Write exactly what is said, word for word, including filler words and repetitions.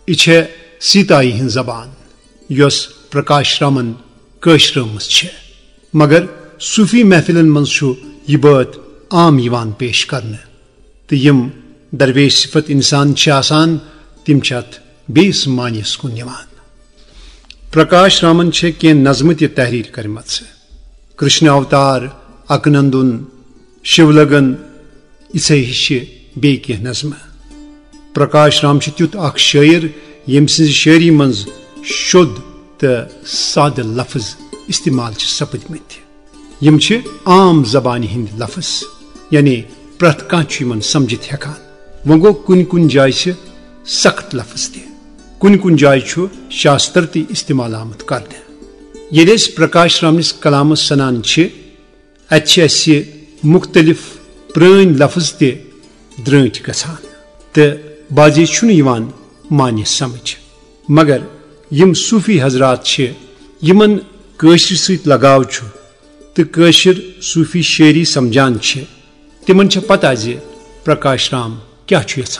یہِ چھےٚ سیتایی ہٕنٛز زبان، یۄس پرکاش رامن کٲشرٲومٕژ چھےٚ، مگر صوفی محفلن منٛز چھُ یہِ بٲتھ عام یِوان پیش کرنہٕ، تہٕ یِم درویش صفت انسان چھِ آسان، تِم چھِ اتھ بیٚیِس معنیَس کُن نِوان۔ پرکاش رامن چھےٚ کینٛہہ نظمہٕ تہِ تحریر کٔرمٕژ۔ کرشن اوتار، اکنندن، شیولگن، یِژھے ہِشہِ بیٚیہِ کینٛہہ نظمہٕ۔ پرکاش رام چھُ تیُتھ اکھ شٲعر، ییٚمۍ سٕنٛزِ شٲعری منٛز شوٚد تہٕ سادٕ لفظ استعمال چھِ سپٕدمٕتۍ۔ یِم چھِ عام زبانہِ ہٕنٛدۍ لفظ، یعنی پرٛٮ۪تھ کانٛہہ چھُ یِمن سمجھِتھ ہٮ۪کان۔ وۄنۍ گوٚو، کُنہِ کُنہِ جایہِ چھِ سخت لفظ تہِ، کُنہِ کُنہِ جایہِ چھُ شاستر تہِ استعمال آمُت کرنہٕ۔ ییٚلہِ أسۍ پرکاش رامنِس کلامس سنان چھِ، اتہِ چھِ اسہِ مختلف پرٲنۍ لفظ تہِ درٲنٹھۍ گژھان تہٕ بعضے چھُنہٕ یِوان معنی سمجھ۔ مگر یِم صوفی حضرات چھِ، یِمن کٲشرِ سۭتۍ لگاو چھُ تہٕ کٲشِر صوفی شٲعری سمجھان چھِ، تِمن چھےٚ پتہ زِ پرکاش رام کیٛاہ چھُ یژھان